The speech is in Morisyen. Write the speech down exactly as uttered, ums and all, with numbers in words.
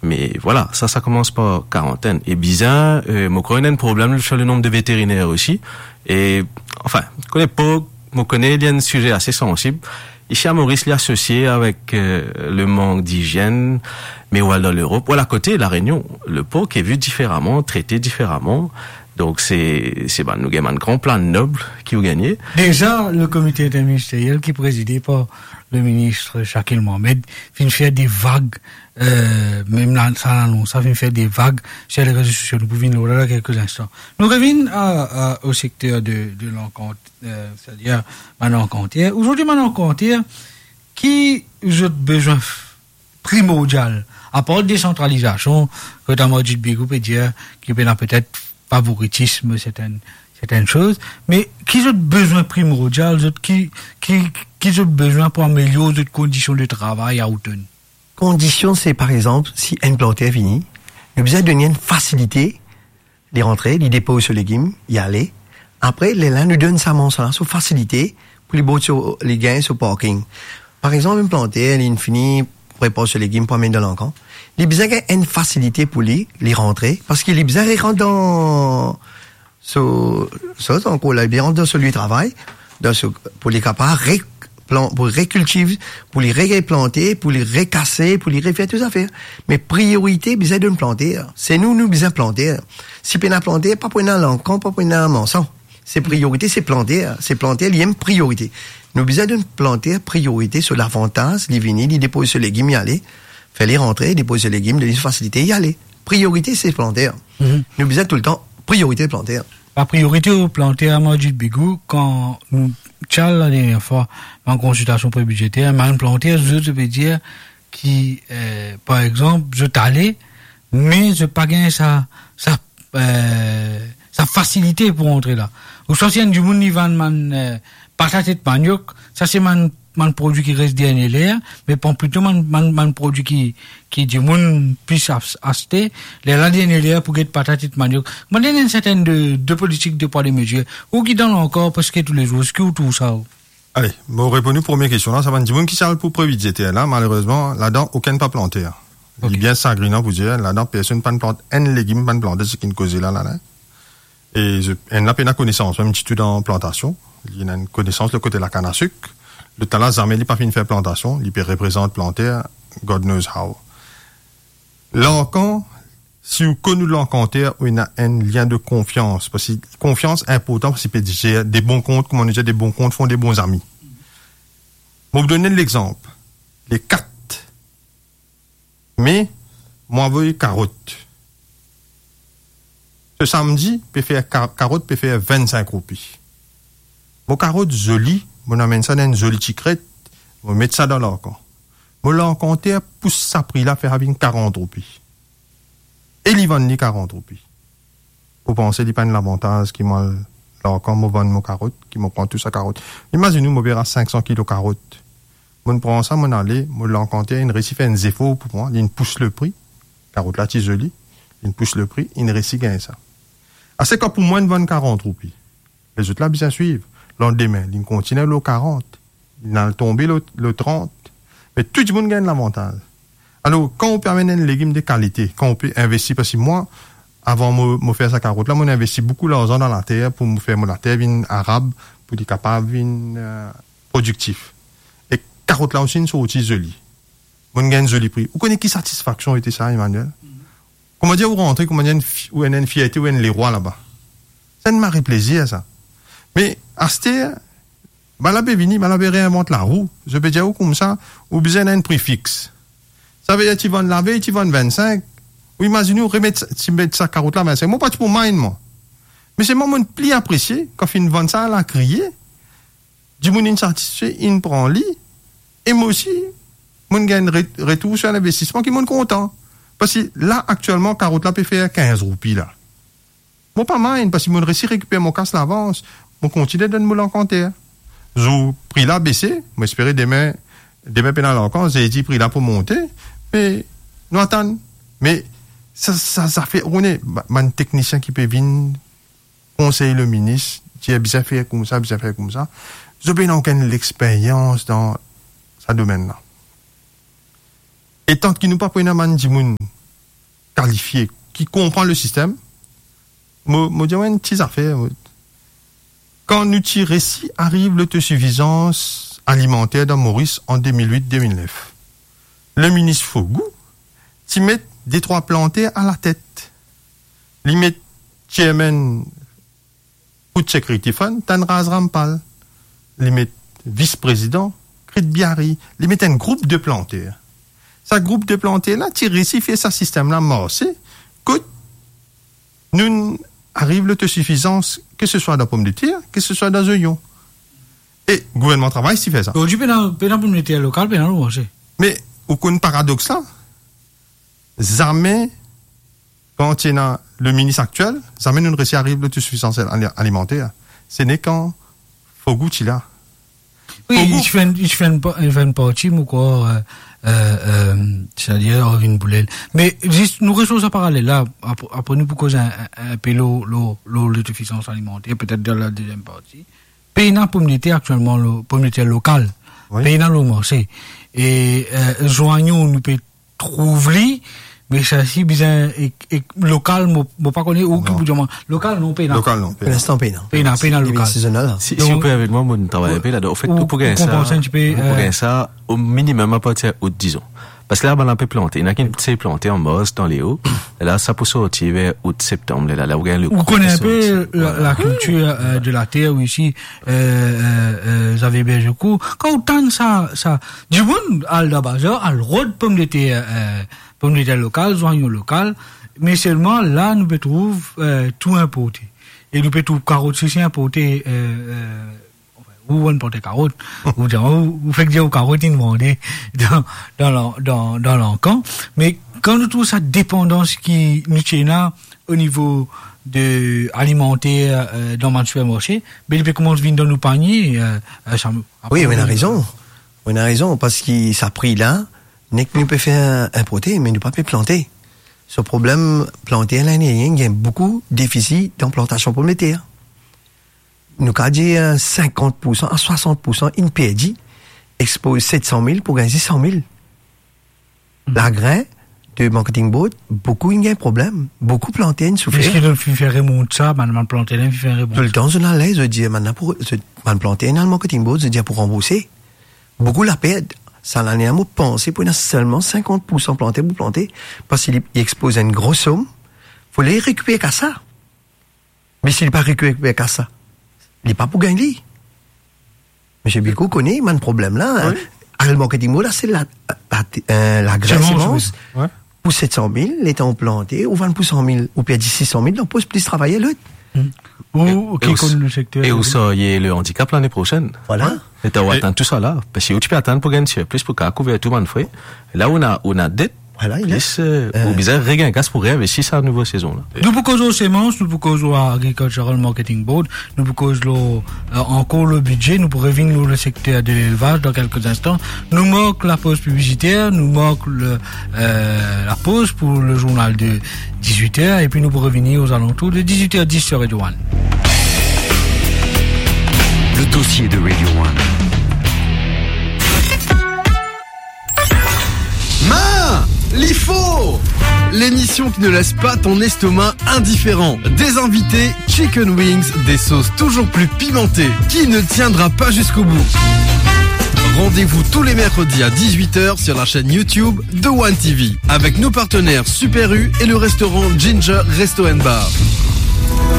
Me vwala, sa, sa koumans par karantenn. E bizin, euh, mo krwar ena enn problem lor le nom de veteriner osi. E, anfin, kone pork, mo kone li enn size ase sansib. Isi a Moris, li asosie avek, euh, le mank dizienn, me ou al dan Lerop, ou al akote, La Rényon, le pork est vu différemment, traité différemment. Donk, se, se bann, nou gagn bann gran plan nob ki ou gagne. Deza, le komite interministeriel ki prezide par le minis Shakil Mohamed finn fer de vag, euh, mem la, sa lanons la finn fer de vag lor le rezo sosio. Nou pou vinn lor la dan kelke instan. Nou revinn a, a, o sekter de, de lankant, euh, setadir bann lankanter. Ozordi, bann lankanter, ki zot bizin f-, primordial, apar desantralizasion, kot Amarjit Bigou pe dir ki pena petet favoritism, sertenn, sertenn soz, me ki zot bizin primordial, zot ki, ki, ki zot bizin pou amelior zot kondision de travay a Houghton? Kondision, se, par exanp, si enn planter vini, nou bizin donn li enn fasilite, li rantre, li depoz so legim, li ale. Apre, lerla nou donn sa marsan la so fasilite pou li bouze so, li gagn so parking. Par exanp, enn planter, li fini prepar so legim pou amenn dan lankan. Li bizin gagn enn fasilite pou li, li rantre, parski li bizin rant dan so, so, ankor la, li bizin rant dan so lie travay, dan so, pou li kapav re-, plan-, pou rekiltiv, pou li replante, pou li rekase, pou li refer tou zafer. Me priorite bizin donn planter. Se nou, nou bizin planter. Si pena planter, pa pou ena lankan, pa pou ena marsan. Se priorite, se planter. Se planter, li enn priorite. Nou bizin donn planter priorite so lavantaz, li vini, li depoz so legim, li ale, fer li rantre, depoz so legim, donn li fasilite, li ale. Priorite, se planter. Mhm. Nou bizin toultan priorite planter. La priorite o planter, Amarjit Bigou, kan nou ti al la dernie fwa an konsiltasion pre-bidzeter, bann planter, zot, zot pe dir ki, euh, par exanp, zot ale, me zot pa gagn sa, sa, euh, sa fasilite pou rantre la. Ouswa si enn dimoun li vann bann, euh, patat ek maniok, sa se bann, bann prodwi ki res dernie ler, me pran plito bann, bann, bann prodwi ki, ki dimoun plis as-, aste, lerla dernie ler pou get patat ek maniok. Mo dir enn sertenn de, de politik de pwa de mezir. Ou ki dan lankor preske toulezour, ki ou trouv sa, ou? Ale, mo reponn ou premie kestion la, sa bann dimoun ki ti al pou pre-bidzeter la, malerezman, ladan, okenn pa planter. Li Ok. Bien sagrinan pou dir, ladan, personn pa'nn plant enn legim, pa'nn plante, seki nou koze la, la, la. E zot, ennla pena konesans, mem ditou dan plantasion. Li ena enn konesans le kote lakann a sik. Lotla, zame li pa finn fer plantasion, li pe reprezant planter, God knows how. Lankan, si ou konn ou lankanter, ou ena enn lien de konfians, parski konfians inportan, parski pe dir de bon kont, kouma nou dir, de bon kont font de bon zami. Mo pou donn enn lexanp. Le kat me, mo avoy karot. Se samdi, pe fer ka-, karot pe fer vennsink roupi. Mo karot zoli, mo amenn sa dan enn zoli ti kret, mo met sa dan lankan. Mo lankanter pous sa pri la, fer sa vinn karant roupi. E li vann li karant roupi. Ou panse li pa enn lavantaz ki mo al lankan, mo vann mo karot, ki mo pran tou sa karot? Imazinn ou, mo pe ras sink san kilo karot. Mo'nn pran sa, mo'nn ale, mo lankanter inn resi fer enn zefor pou mwa, li'nn pous le pri. Karot la ti zoli, li'nn pous le pri, inn resi gagn sa. Aster kan pou mwa inn vann karant roupi, lezot la bizin swiv. Landime, li'nn kontigne lor karant. Li'nn al tonbe lor, lor trant. Me tou dimoun gagn lavantaz. Alor, kan ou pe amenn enn legim de kalite, kan ou pe investi, parski mwa, avan mo, mo fer sa karot la, mo'nn investi boukou larzan dan later pou mo fer mo later vinn arab, pou li kapav vinn, euh, prodiktif. E karot la osi inn sorti zoli. Mo'nn gagn zoli pri. Ou kone ki satisfaksion ete sa, Emmanuel? Kouma dir ou rantre, kouma dir enn fi-, ou ena enn fierte, ou enn lerwa laba. Sa enn mari plezir sa. Me aster, bannla pe vini, bannla pe reinvant larou. Zot pe dir ou koumsa, ou bizin ena enn pri fix. Savedir ti vann lavey, ti vann vennsink. Ou imazinn ou remet sa, ti met sa karot la vennsink. Mo pa ti pou mind mwa. Me selman mo'nn pli apresie, kan finn vann sa lakriye, dimoun inn satisfe, inn pran li, e mo osi, mo'nn gagn re-, retour sir linvestisman ki mo'nn kontan. Parski la, aktielman, karot la pe fer kinz roupi la. Mo pa mind, parski mo'nn resi rekiper mo kas lavans, mo kontigne donn mo lankanter. Zour pri la bese, mo espere demin, demin pena lankan, zerdi pri la pou monte, me nou atann. Me sa, sa, sa fer, ou kone, ba-, bann teknisien ki pe vinn konsey le minis, dir bizin fer koumsa, bizin fer koumsa. Zot pena okenn lexperyans dan sa domenn la. E tanki nou pa pou ena bann dimoun kalifie, ki konpran le sistem, mo, mo dir enn ti zafer, mo, kan nou ti resi ariv lotosifizans alimanter dan Moris an de mil wit de mil nef, le minis Fogou ti met de trwa planter alatet. Li met chairman Food Security Fund, Tanraz Rampal. Li met vis-prezidan, Krit Biari. Li met enn group de planter. Sa group de planter la ti resi fer sa sistem la marse, kot nou ariv lotosifizans, ke se swa dan pomdeter, ke se swa dan zonyon. E gouvernman Travay ti fer sa. Zordi, pena, pena pomdeter lokal, pena lor marse. Me ou konn paradox la? Zame, kan ti ena le minis aktiel, zame nou resi ariv lotosifizans ali-, alimanter. Se ne kan Fogou ti la. Wi, Fogou. Li ti fer enn, li ti fer enn pa-, li ti fer enn parti, mo krwar, euh, euh, euh, setadir, Arvin Boulel. Me zis, nou res lor sa paralel la, apre, apre nou pou koz enn, enn, enn pe lor, lor, lor lotosifizans alimanter, petet dan la deziem parti. Pena pomdeter aktielman, lo-, pomdeter lokal. Wi. Pena lor marse. E, euh, zonyon, nou pe trouv li, me sa si bizin ek, ek lokal, mo, mo pa kone ou ki pou dir mwa. Lokal, non, pena. Lokal, non, pena. Pou linstan, pena. Pena, pena lokal. Sezonal, la. Si, si ou permet mwa, mo travay enn pe ladan. Anfet, ou, ou pou gagn sa, ou pou gagn sa, o minimem apartir out, dizon. Parski la, bann la pe plante. Ena ki ti plante an mars, dan leo. E la, sa pou sorti ver out, septam, la, la, ou gagn le kro pou sorti. Ou kone enn pe la, la kiltir, euh, de la ter isi, euh, euh, euh, Xavier Bergecourt. Kan ou tann sa, sa, dimoun al dan bazar, al rod pomdeter, euh, pomdeter lokal, zonyon lokal, me selman la, nou pe trouv, euh, tou inporte. E nou pe trouv karot isi inporte, euh, euh, ou bann planter karot, ou dir, ou, ou fek dir ou karot inn mande dan, dan la, dan, dan lankan. Me kan nou trouv sa depandans ki nou ti ena o nivo de alimanter, euh, dan bann sipermarse, be li pe koumans vinn dan nou panie, euh, euh, sa, wi, ou ena rezon. Ou ena rezon, parski sa pri la, nek nou pe fer inporte, me nou pa pe plante. So problem, planter la, inn gagn boukou defisi dan plantasion pomdeter. Nou kapav dir, euh, sinkant pou san a swasant pou san inn perdi, expoz set san mil pou gagn zis san mil. Lagrin de Marketing Board, boukou inn gagn problem, boukou planter inn soufer. Eski zot finn fer remont sa, bann, bann planter la, finn fer remont? Toultan zot al, zot dir, bann la pou, zot, bann planter inn al Marketing Board, zot dir pou ranbourse. Boukou la perd. Sa lane la, mo panse pou ena selman sinkant pou san planter pou plante, parski li, li expoz enn gro som, fode li rekiper kas la. Me si li pa rekiper kas la, li pa pou gagn li. Misie Bilko kone bann problem la, hein. Wi. Al Marketing Board la, se la, la, euh, lagrin, semans, semans, wi. Wi. Pou set san mil, letan ou plante, ou vann pou san mil, ou perdi sis san mil dan pos plis travayer lot. Hmm. Ou, e, ou ki konn le sekter, e ou sarye le andikap lane prosenn. Vwala. Letan ou atann tou sa la, parski ou ti pe atann pou gagn sirplis pou kapav kouver tou bann fre. La ou ena, ou ena det, vwala, plis, euh, ou bizin regagn kas pou reinvesti sa nouvo sezon la. Nou pou koz lor semans, nou pou koz lor Agricultural Marketing Board, nou pou koz lor, euh, ankor le bidze, nou pou revinn lor le sekter de lelvaz dan kelke instan. Nou mark lapoz piblisiter, nou mark le, euh, lapoz pou le zournal de dizwit er, epi nou pou revini ozalantour de dizwit er dis sur Radio One. Le dossier de Radio One. Ma, li for ! L'émission qui ne laisse pas ton estomac indifférent. Des invités, chicken wings, des sauces toujours plus pimentées. Qui ne tiendra pas jusqu'au bout ? Rendez-vous tous les mercredis à dix-huit heures sur la chaîne YouTube de One T V, avec nos partenaires Super U et le restaurant Ginger Resto and Bar.